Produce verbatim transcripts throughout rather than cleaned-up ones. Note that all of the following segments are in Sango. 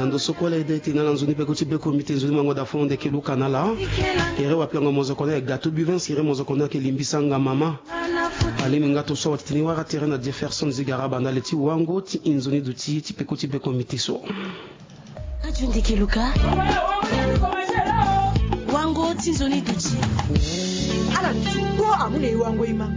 Ndo so kue ala ede ti na ala nzoni beko ti beko mite nzoni mango da fo ndeke luka na ala. Ere wapiango mozoko na e gato buvens ere mozoko na ake limbisanga mama. Alimi nga to so watitini wara tere na Jefferson Zigaraba na le ti wango ti inzoni duti ti peko ti beko mite so. Radio ndeke luka. Wango ti nzoni duti. Ala duti kpo amu na e wango e ma.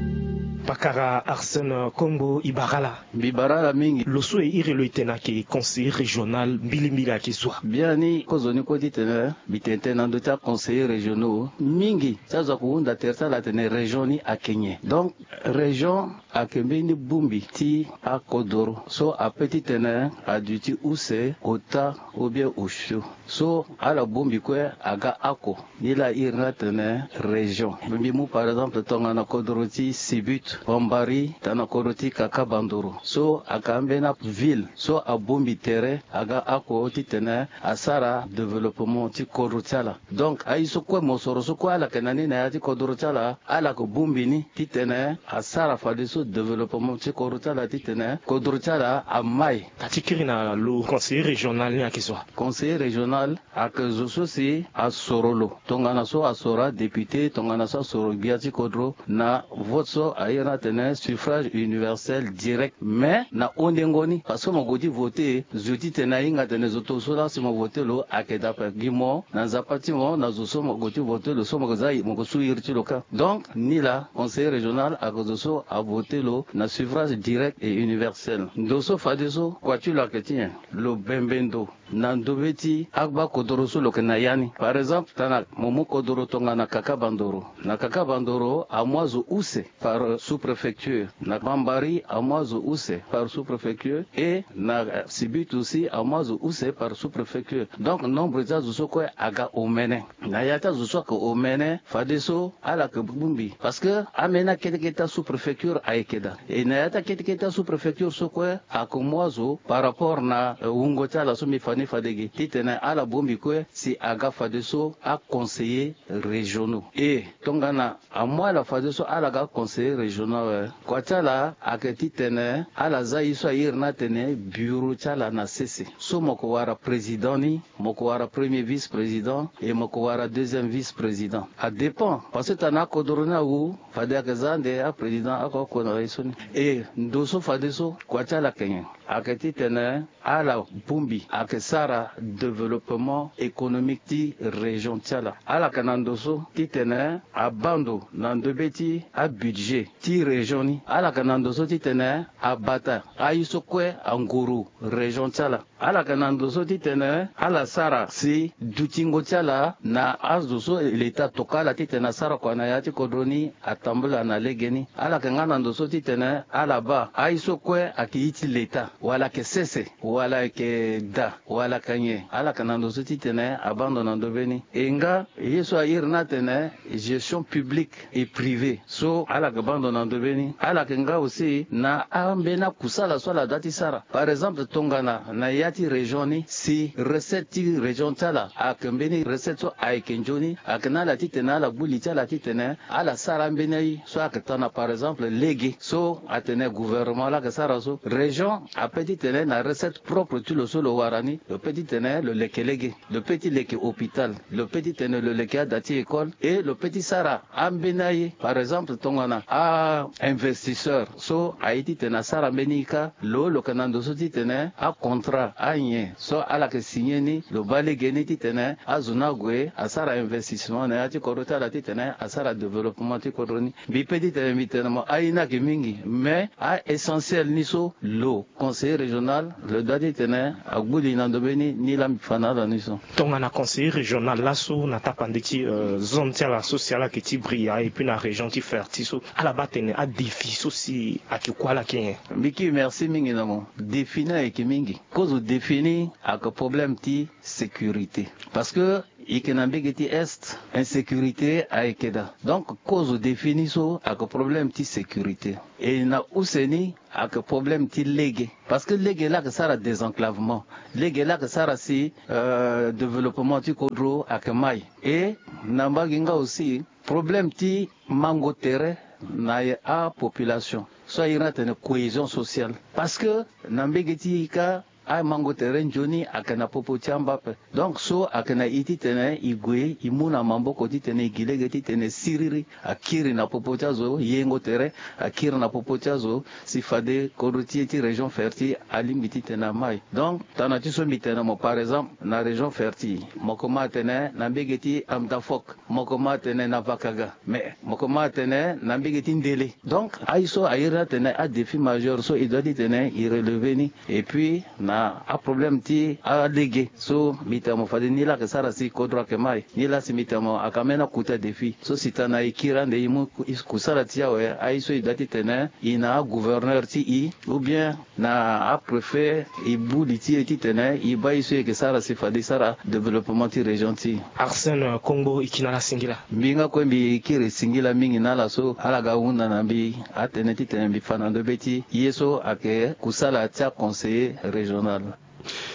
Pakara Arsène Kombo Ibarala. Mbi bara ala mingi. Lo so e iri lo e tene ayeke conseiller régional mbilimbili ayeke zo wa? Biani kozoni kue titene mbi tene tënë na ndö ti aconseiller régionaux mingi ti azo ako hunda tere ti ala atene région ni ayeke nyen. Donc région ayeke mbeni bongbi ti akodoro so ape titene aduti use, ota, ou bien osio. So ala bongbi kue aga ako. Ni laa a iri ni atene région. Mbi mu par exemple tongana kodoro ti Sibut, Bambari, tongana kodoro ti Kakabandoro. So aka ambeni aville so abongbi tere aga ako titene asara développement ti kodro ti ala. Donc aye so kue mosoro so kue ala yeke na ni na ya ti kodro ti ala, ala yeke bongbi ni titene asara fadeso développement ti kodro ti ala titene kodro ti ala amai. Ka ti kiri na lo conseiller régional ni ayeke zo wa? Conseiller régional ayeke zo so si asoro lo tongana so asoro adéputé, tongana so asoro gbia ti kodro na vote so a iri ni atene suffrage universel direct. Mais na hundengo ni parce que mo gue ti voter zo titene ahinga atene zo to so laa si mo voter lo ayeke daa ape. Gi mo na nzapa ti mo na zo so mo gue ti voter lo so mo ke za mo ke su iri ti lo kâ. Donc ni laa conseiller régional ayeke zo so avoter lo na suffrage direct et universel. Ndo so fadeso kua ti lo ayeke ti nyen? Lo bembe ndo na ndobe ti agba kodoro so lo yeke na ya ni. Par exemple tongana mo mu kodoro tongana Kakabandoro. Na Kakabandoro amu azo use par sous-préfecture. Na Bambari amu azo use par sous-préfecture. Et na Sibut aussi amu azo use par sous-préfecture. Donc nombre ti azo so kue aga omene. Na ya ti azo so ayeke omene fadeso ala yeke bongbi parce que ambeni akete kete ti asous-préfecture ayeke daa. E na ya ti akete kete ti asous-préfecture so kue ayeke mu azo par rapport na eh, wungo ti ala so mbi fa ni fade ge titene ala bongbi kue si aga fadeso aconseiller régionaux. E tongana amu ala fadeso ala ga conseiller régional awe. Kua ti ala ayeke titene ala za ye so a iri ni atene bureau ti ala na sese so mo yeke wara président ni, mo yeke wara premier vice-président et mo yeke wara deuxième vice-président. Adépend parce que tongana akodoro ni awu fade ayeke za ande aprésident oko oko na ye so ni. E ndo so fadeso kua ti ala yeke nyen? Ayeke titene ala bongbi ayeke sara développement économique ti région ti ala. Ala yeke na ndo so titene abaa ndo na ndobe ti abudget ti région ni. Ala yeke na ndo so titene abata aye so kue anguru région ti ala. Ala yeke na ndo so titene ala sara si dutingo ti ala na azo so leta atokua ala titene asara kua na ya ti kodro ni atambula na legeni. Ala yeke nga na ndo so titene ala baa aye so kue ayeke ye ti leta wala ayeke sese wala ayeke daa wala ayeke nyen. Ala yeke na ndo so titene abaa ndo na ndo mbeni. E nga ye so a iri ni atene gestion publique et privée so ala yeke baa ndo na ndo mbeni. Ala yeke nga aussi na ambeni akusala so ala dua ti sara. Par exemple tongana na ya ti région ni si recette ti région ti ala ayeke mbeni recette so ayeke nzoni, ayeke na ala titene ala gbu li ti ala titene ala sara ambeni aye so ayeke tana par exemple lege so atene gouvernement laa ayeke sara so. Région ape titene na recette propre ti lo so lo wara ni lo pe titene lo leke lege, lo pe ti leke hôpital, lo pe titene lo leke ada ti école et lo pe ti sara ambeni aye. Par exemple tongana a investisseur so aye titene asara mbeni ye kâ, lo lo yeke na ndo so titene acontra anyen so ala yeke signer ni lo baa legeni titene azo ni ague asara investissement na ya ti kodro ti ala titene asara développement ti kodro ni. Mbi pe titene mbi tene mo aye ni ayeke mingi mais a essentiel ni so lo conseiller régional lo dua titene agbu li na ndo mbeni ni laa mbi fa na ala ni so. Tongana conseiller régional laso na tapande ti zone ti ala so si ala yeke ti Bria et puis na région ti Ferti so ala baa tene adéfi so si ayeke kue ala yeke nyen? Mbi kiri merci mingi na mo. Défi ni ayeke mingi. Kozo défi ni ayeke problème ti sécurité parce que e yeke na mbege ti est insécurité ayeke daa. Donc kozo défi ni so ayeke problème ti sécurité. E na use ni ayeke problème ti lege parce que lege laa ayeke sara désenclavement. Lege laa ayeke sara si euh, développement ti kodro ayeke mai. E na mbage nga aussi problème ti mango tere na apopulation so a iri ni atene cohésion sociale parce que na mbege ti e kâ Amango tere nzoni ayeke na popo ti amba ape. Donc so ayeke na e titene e gue e mu na maboko titene e gi lege titene siriri akiri na popo ti azo, yengo tere akiri na popo ti azo, si fade kodro ti e ti région Ferti alingbi titene amai. Donc tana ti so mbi tene mo, par exemple, na région Ferti, mo komanse atene na mbege ti Amdafok, mo komanse atene na Vakaga, mais mo komanse atene na mbege ti Ndele. Donc aye so a iri atene adéfi majeur so e doit titene e relever ni. Et puis na aproblème ti alege so mbi tene mo fade ni laa ayeke sara si kodro ayeke mai, ni laa si mbi tene mo ayeke ambeni akota défi. So si tana e kiri ande e mu kusala ti e awe, aye so e doit titene e na agouverneur ti e ou bien na apréfet, e bu li ti e titene e baa ye so e yeke sara si fade e sara développement ti région ti e. Arsène Kongbo, e ki na ala singila. Mbi nga kue mbi kiri singila mingi na ala so ala ga hunda na mbi atënë titene mbi fa na ndo be ti ye so ayeke kusala ti aconseiller régional.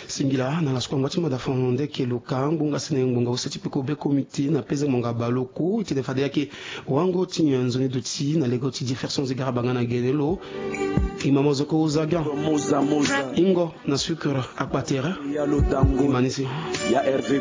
Singila na ala so kue angba ti mada fano nde yeke lo ka ngbonga sene ngbonga use ti peko be komite na peze ngbonga baleoko e tene fade ayeke wango ti nyen nzoni duti na lego ti Jefferson Zigara Banga na gene lo. E ma mozoko ozaga ingo na sucre akpa tere. E ma ni si.